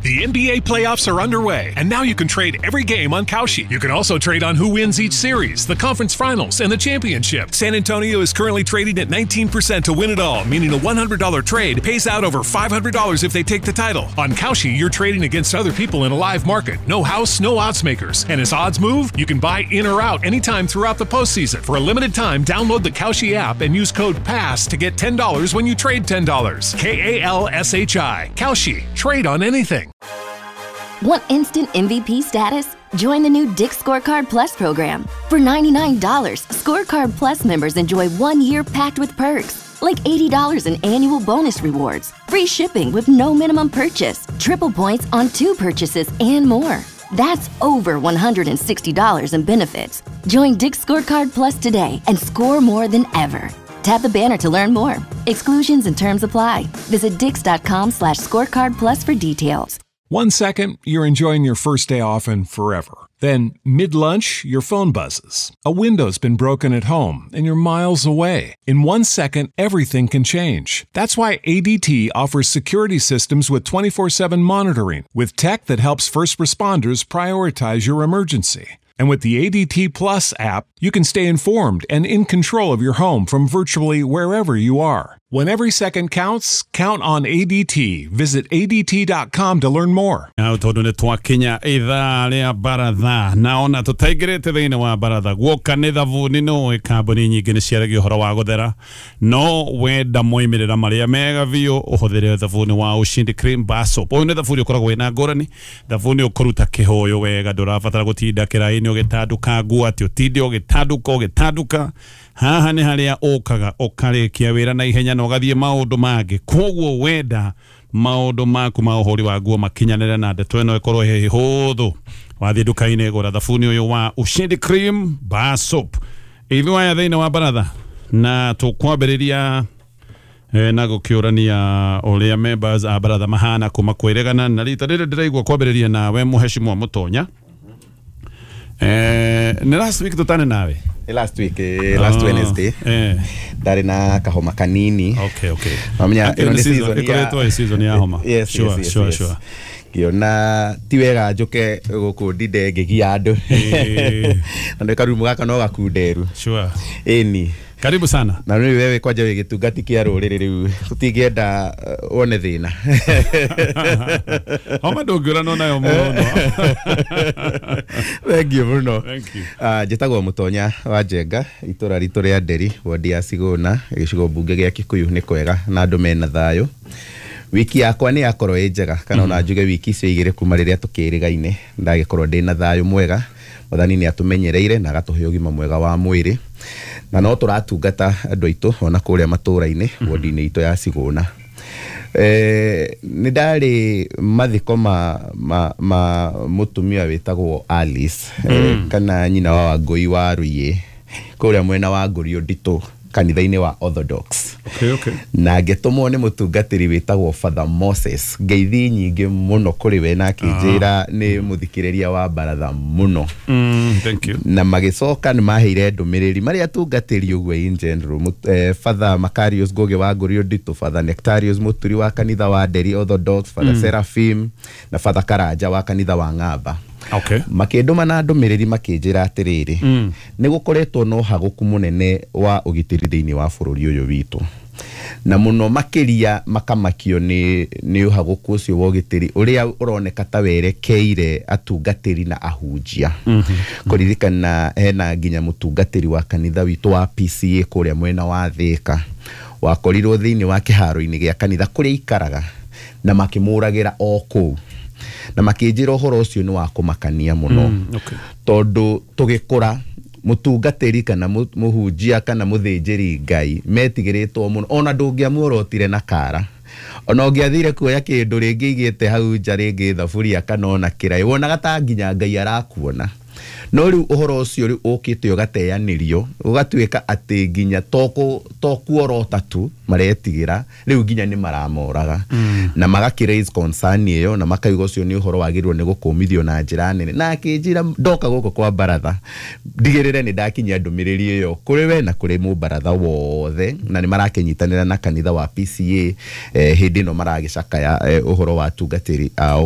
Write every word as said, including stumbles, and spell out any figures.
The N B A playoffs are underway, and now you can trade every game on Kalshi. You can also trade on who wins each series, the conference finals, and the championship. San Antonio is currently trading at nineteen percent to win it all, meaning a one hundred dollar trade pays out over five hundred dollars if they take the title. On Kalshi, you're trading against other people in a live market. No house, no odds makers. And as odds move, you can buy in or out anytime throughout the postseason. For a limited time, download the Kalshi app and use code PASS to get ten dollars when you trade ten dollars. K A L S H I. Kalshi. Trade on anything. Want instant M V P status? Join the new Dick's Scorecard Plus program. For ninety-nine dollars, Scorecard Plus members enjoy one year packed with perks, like eighty dollars in annual bonus rewards, free shipping with no minimum purchase, triple points on two purchases, and more. That's over one hundred sixty dollars in benefits. Join Dick's Scorecard Plus today and score more than ever. Tap the banner to learn more. Exclusions and terms apply. Visit dicks.com slash scorecard plus for details. One second, you're enjoying your first day off and forever. Then, mid-lunch, your phone buzzes. A window's been broken at home, and you're miles away. In one second, everything can change. That's why A D T offers security systems with twenty-four seven monitoring, with tech that helps first responders prioritize your emergency. And with the A D T Plus app, you can stay informed and in control of your home from virtually wherever you are. When every second counts, count on A D T. Visit A D T dot com to learn more. Hau tondu nĩ twakinya ithaa rĩa baratha na ona tũtaingĩrĩte thĩinĩ wa baratha guoka nĩ thabuni nũĩ kambuni nyingĩ nĩ ciaragia ũhoro wa gũthera no wenda moimĩrĩra marĩa mega biũ ũhũthĩre thabuni wa Ushindi Cream Bar Soap. Ũyũ nĩ thabuni ũkoragwo wĩna ngũrani, thabuni ũkũruta kĩhũyũ wega, ndũrabatara gũtinda kĩraĩ-inĩ ũgĩtanduka nguo atĩ ũtinde ũgĩtanduka ũgĩtanduka. Haha nĩ harĩa ũkaga ũkarĩkia wĩra na ihenya na ũgathiĩ maũndũ mangĩ. Koguo wenda maũndũ maku ma ũhũri wa nguo makinyanĩre na ndeto ĩno ĩkorwo ĩ hũthũ, wathiĩ nduka-inĩ gũra thabuni ũyũ wa Ushindi Cream Bar Soap. Ithuĩ aya thĩinĩ wa baratha na tũkwambĩrĩria eh, na gũkĩũrania ũrĩa members a baratha mahana kuma kwĩregana na rita rĩrĩ ndĩraigua kwambĩrĩria nawe mũheshimiwa Mũtonya. Eh, nĩ last week tũtane nawe? Last week, eh, last oh, Wednesday. Eh. Ndarĩ na kahoma kanini. Okay, okay. Mamenya ĩno nĩ season ya ĩkoretwo ĩ season ya homa. Yes, sure, yes, yes, sure, yes. Sure. Ngĩona ti wega njũke gũkũ ndinde ngĩgia andũ. Na nĩ karumu gaka no gakunderu. Sure. Ĩni. Karibu sana. Na rĩu wewe kwanja wĩ gĩtungati kĩa rũrĩrĩ rĩu tũtingĩenda wone thĩna. Homa ndũngĩũranwo nayo mũno. Thank you mũno. Thank you. Uh, njĩtagwo Mũtonya wa Njenga, itũra ritũ rĩa Nderi, wodi ya Sigũna, gĩcigo mbunge gĩa Kikuyu nĩ kwega na andũ mena thayũ. Wiki yakwa nĩ yakorwo ĩ njega kana ona njuge wiki icio igĩrĩ kuma rĩrĩa tũkĩrĩgaine ndagĩkorwo ndĩ na thayũ mwega. Mwathani nĩ atũmenyereire na agatũhe ũgima mwega wa mwĩrĩ na no tũratungata andũ aitũ ona kũrĩa matũra-inĩ wodi-inĩ itũ ya Sigũna. Eh, nĩ ndarĩ mathiko ma, ma, ma mũtumia wĩtagwo Alice mm. eh, kana nyina wa Wangũi wa Rũiĩ kũrĩa mwena wa Ngũrio Nditũ kanitha-inĩ wa Orthodox. Okay, okay. Na ngĩtũmwo nĩ mũtungatĩri wĩtagwo Father Moses. Ngeithi nyingĩ mũno kũrĩ we na akĩnjĩra nĩ mũthikĩrĩria wa baratha mũno. Mm, thank you. Na magĩcoka nĩ maheire ndũmĩrĩri marĩa atungatĩri ũguo in general. Eh, Father Macarius Ngũgĩ wa Ngũrio Nditũ, Father Nectarius Mũturi wa kanitha wa Nderi Orthodox, Father mm. Seraphim na Father Karanja wa kanitha wa Ng'amba. Okay. Makĩndũma na ndũmĩrĩri makĩnjĩra atĩrĩrĩ mm. nĩ gũkoretwo na ũhagũku mũnene wa ũgitĩri thĩinĩ wa bũrũri ũyũ witũ na mũno makĩria makamakio nĩ nĩ ũhagũku ũcio wa ũgitĩri ũrĩa ũroneka ta werekeire atungatĩri na ahunjia. mm -hmm. Kũririkana hena nginya mũtungatĩri wa kanitha witũ wa P C A kũrĩa mwena wa Thĩka wakorirwo thĩinĩ wa kĩharo-inĩ gĩa kanitha kũrĩa ikaraga na makĩmũragĩra o kũu na makĩnjĩra ũhoro ũcio nĩ wa kũmakania mũno. mm, okay. Tondũ tũgĩkũra mũtungatĩri kana mũhunjia kana mũthĩnjĩri Ngai metigĩrĩtwo mũno ona ndũngĩamuorotire na kara ona ũngĩathire kuoya kĩndũ rĩngĩ igĩte hau nja rĩngĩ thaburia kana ona kĩraĩ wonaga ta nginya Ngai arakuona. No rĩu ũhoro ũcio rĩu ũkĩte ũgateanĩrio ũgatuĩka atĩ nginya to kuorota tu maretigĩra rĩu nginya nĩ maramoraga. mm. Na magakĩ raise concern ĩyo na makauga ũcio nĩ ũhoro wagĩrĩirwo nĩ gũkũmithio na njĩra nene. Na akĩnjĩra ndoka gũkũ kwa baratha ndigĩrĩre nĩ ndakinyia ndũmĩrĩri ĩyo kũrĩ we na kũrĩ mũbaratha wothe na nĩ marakĩnyitanĩra na kanitha wa P C A eh, hĩndĩ ĩno maragĩcakaya eh, ũhoro wa atungatĩri ao.